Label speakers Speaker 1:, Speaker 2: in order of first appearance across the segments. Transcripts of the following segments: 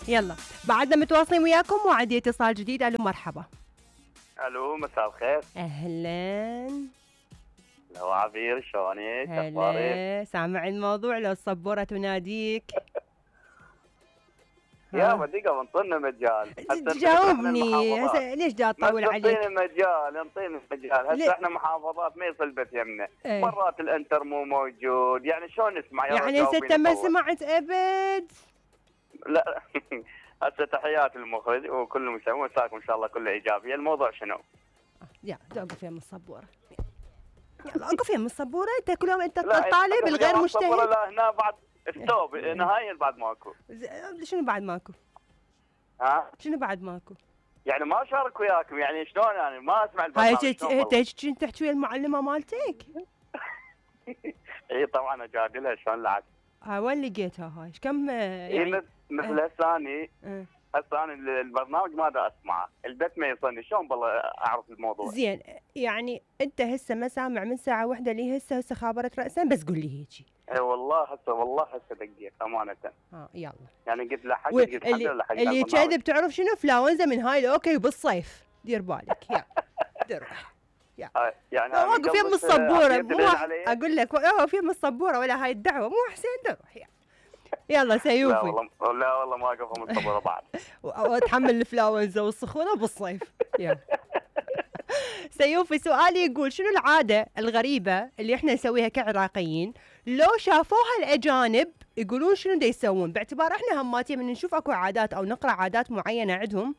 Speaker 1: يلا بعدنا متواصلين وياكم وعندي اتصال جديد. الو مرحبا.
Speaker 2: الو مساء الخير.
Speaker 1: اهلا.
Speaker 2: لو عبير شلونك؟
Speaker 1: هلا سامع الموضوع لو الصبورة تناديك.
Speaker 2: يا دقيقة انطينا مجال.
Speaker 1: جاوبني هسه ليش جاي اطول عليك؟
Speaker 2: انطيني مجال هسه احنا محافظات ما يصل بث يمنا. مرات الانتر مو موجود يعني شلون نسمع؟
Speaker 1: يعني هسه ما سمعت ابد؟
Speaker 2: لا هسه تحيات المخرج وكل المستمعين مساكم ان شاء الله كله ايجابيه. الموضوع شنو؟
Speaker 1: يا اوقف يم الصبوره. يلا اوقف يم الصبوره. انت كل يوم انت طالب الغير مجتهد.
Speaker 2: لا هنا بعد ستوب نهائيا بعد ماكو.
Speaker 1: شنو بعد ماكو؟ شنو بعد ماكو؟
Speaker 2: يعني ما اشارك وياكم يعني شلون يعني ما اسمع البرنامج.
Speaker 1: هاي تحكي ويا المعلمه مالتك؟
Speaker 2: اي طبعا اجادلها شلون لعبت.
Speaker 1: وين لقيتها هاي؟ كم يعني
Speaker 2: مثل هسه اني البرنامج ما دا اسمعه، البث ما يوصلني، شلون بالله اعرف الموضوع؟
Speaker 1: زين يعني انت هسه ما سامع من ساعه واحده لي هسه خابرت راسا بس قول لي هيجي.
Speaker 2: اي والله هسه دقيقه امانه.
Speaker 1: يلا
Speaker 2: يعني قلت له حق قلت الحمد لله حق
Speaker 1: اللي كذب تعرف شنو؟ فلاونزا من هاي الاوكي بالصيف. دير بالك يا دروح.
Speaker 2: يعني
Speaker 1: واقف يم الصبوره مو اقول لك واقف يم الصبوره ولا هاي الدعوه مو حسين دروح. يلا سيوفي.
Speaker 2: لا والله ما اقف ام الصبوره بعد.
Speaker 1: واتحمل الفلاونزا والسخونه بالصيف. يلا سيوفي سؤالي يقول شنو العاده الغريبه اللي احنا نسويها كعراقيين لو شافوها الاجانب يقولون شنو دا يسوون؟ باعتبار احنا هماتين من نشوف اكو عادات او نقرا عادات معينه عندهم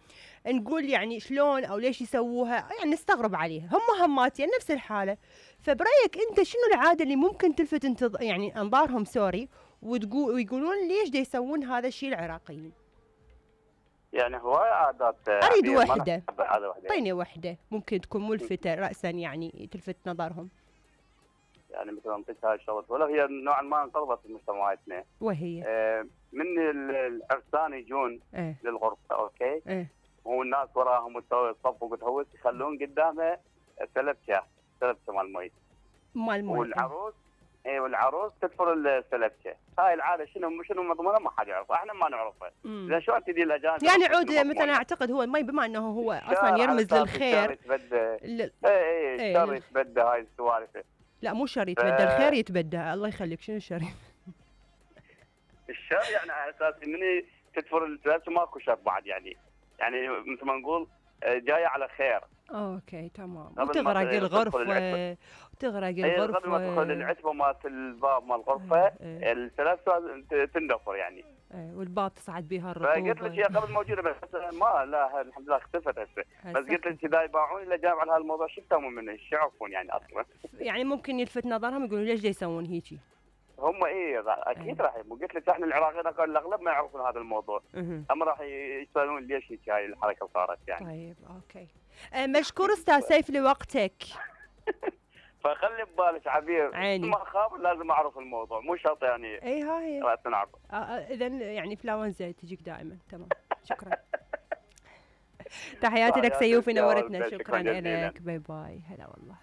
Speaker 1: نقول يعني شلون او ليش يسووها، يعني نستغرب عليها. هم هماتين نفس الحاله. فبرايك انت شنو العاده اللي ممكن تلفت يعني انظارهم ويقولون ليش دا يسوون هذا الشيء العراقيين؟
Speaker 2: يعني هواي عادات.
Speaker 1: اريد وحده. اعطيني وحده ممكن تكون ملفته راسا يعني تلفت نظرهم.
Speaker 2: يعني مثلا انطيك هاي الشغله ولا هي نوعا ما انقرضت في مجتمعاتنا.
Speaker 1: وهي
Speaker 2: من العرسان يجون للغرفه اوكي. والناس وراهم وتسوي صف وتهوس يخلون قدامه سلبشه مال مي. والعروس تدفر السلبشه. هاي العاده شنو مضمونها ما حد يعرفها، احنا ما نعرفها. اذا شلون تدي الاجانب
Speaker 1: يعني عود مثلا اعتقد هو المي بما انه هو اصلا يرمز للخير.
Speaker 2: الشر يتبدى هاي السوالف.
Speaker 1: لا مو شر يتبدى الخير يتبدى. الله يخليك شنو الشر؟
Speaker 2: الشر يعني على اساس من تدفر السلبشه ماكو شر بعد يعني مثل ما نقول جايه على خير.
Speaker 1: اوكي تمام. وتغرق الغرفه
Speaker 2: قبل ما تدخل العتبه مالت الباب مال الغرفه السلاسل تندفر يعني.
Speaker 1: والباب تصعد بها الرطوبه.
Speaker 2: فقلت لك هي قبل موجوده بس ما لا الحمد لله اختفت هسه. بس قلت لك اذا يباعون الا جايب على هالموضوع شو يسوون منه؟ ايش يعرفون يعني اصلا؟
Speaker 1: يعني ممكن يلفت نظرهم يقولون ليش يسوون هيجي؟
Speaker 2: هم اكيد راح قلت لك احنا العراقيين الاغلب ما يعرفون هذا الموضوع. هم راح يسالون ليش هيك هاي الحركه صارت يعني.
Speaker 1: طيب اوكي. مشكور استاذ سيف لوقتك.
Speaker 2: فخلي ببالك عبير
Speaker 1: عيني.
Speaker 2: ما اخاف لازم اعرف الموضوع مو شرط يعني.
Speaker 1: هاي
Speaker 2: راسا نعرف.
Speaker 1: اذا يعني فلاونزا تجيك دائما. تمام شكرا. تحياتي لك سيوفي نورتنا. شكرا لك. باي باي. هلا والله.